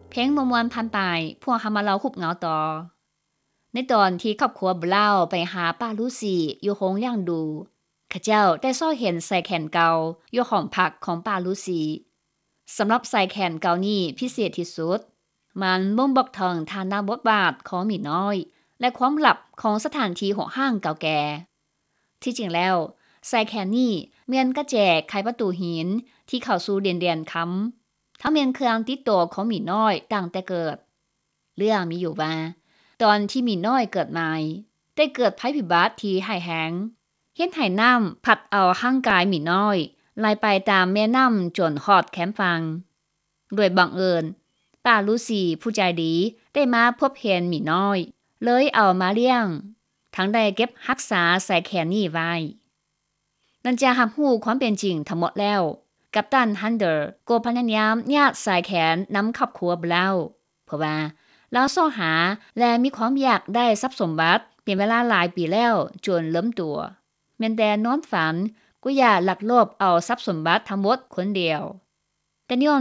ເພງມ່ວນໆຜ່ານໄປ, ພວກເຮົາມາເລົ່າຮູບເງົາຕໍ່. ໃນຕອນທີ່ຄອບຄົວບຣາວໄປຫາປ້າລູຊີຢູ່ໂຮງລ້ຽງດູ, ເຂົາເຈົ້າໄດ້ຊອກເຫັນສາຍແຂນເກົ່າຢູ່ຫ້ອງພັກຂອງປ້າລູຊີ. ສຳລັບສາຍແຂນເກົ່ານີ້ພິເສດທີ່ສຸດ, ມັນບົ່ງບອກເຖິງຖານະບົດບາດຂອງໝີນ້ອຍ ແລະ ຄວາມລັບຂອງສະຖານທີ່ຮົກຮ້າງເກົ່າແກ່. ທີ່ຈິງແລ້ວ, ສາຍແຂນນີ້ແມ່ນກະແຈໄຂປະຕູຫີນທີ່ເຂົ້າສູ່ດິນແດນຄຳ, ທັງແມ່ນເຄື່ອງຕິດໂຕຂອງໝີນ້ອຍຕັ້ງແຕ່ເກີດ. ເລື່ອງມີຢູ່ວ່າ, ຕອນທີ່ໝີນ້ອຍເກີດໃໝ່, ໄດ້ເກີດໄພພິບັດທີ່ຮ້າຍແຮງ, ເຮັດໃຫ້ນ້ຳພັດເອົາຮ່າງກາຍໝີນ້ອຍໄຫຼໄປຕາມແມ່ນ້ຳຈົນຮອດແຄມຝັ່ງ. ໂດຍບັງເອີນ, ປ້າລູຊີຜູ້ໃຈດີໄດ້ມາພົບເຫັນໝີນ້ອຍ, ເລີຍເອົາມາລ້ຽງ, ທັງໄດ້ເກັບຮັກສາສາຍແຂນນີ້ໄວ້. ຫຼັງຈາກຮັບຮູ້ຄວາມເປັນຈິງທັງໝົດແລ້ວ, ກັບຕັນ Hunter ກໍພະຍາຍາມຍາດສາຍແຂນນຳຄອບຄົວບຣາວ, ເພາະວ່າລາວຊອກຫາ ແລະ ມີຄວາມຢາກໄດ້ຊັບສົມບັດເປັນເວລາຫຼາຍປີແລ້ວຈົນເລິມຕົວ. ແມ່ນແຕ່ນອນຝັນກໍຢາກລັກລອບເອົາຊັບສົມບັດທັງໝົດຄົນດຽວ. ແຕ່ຍ້ອນ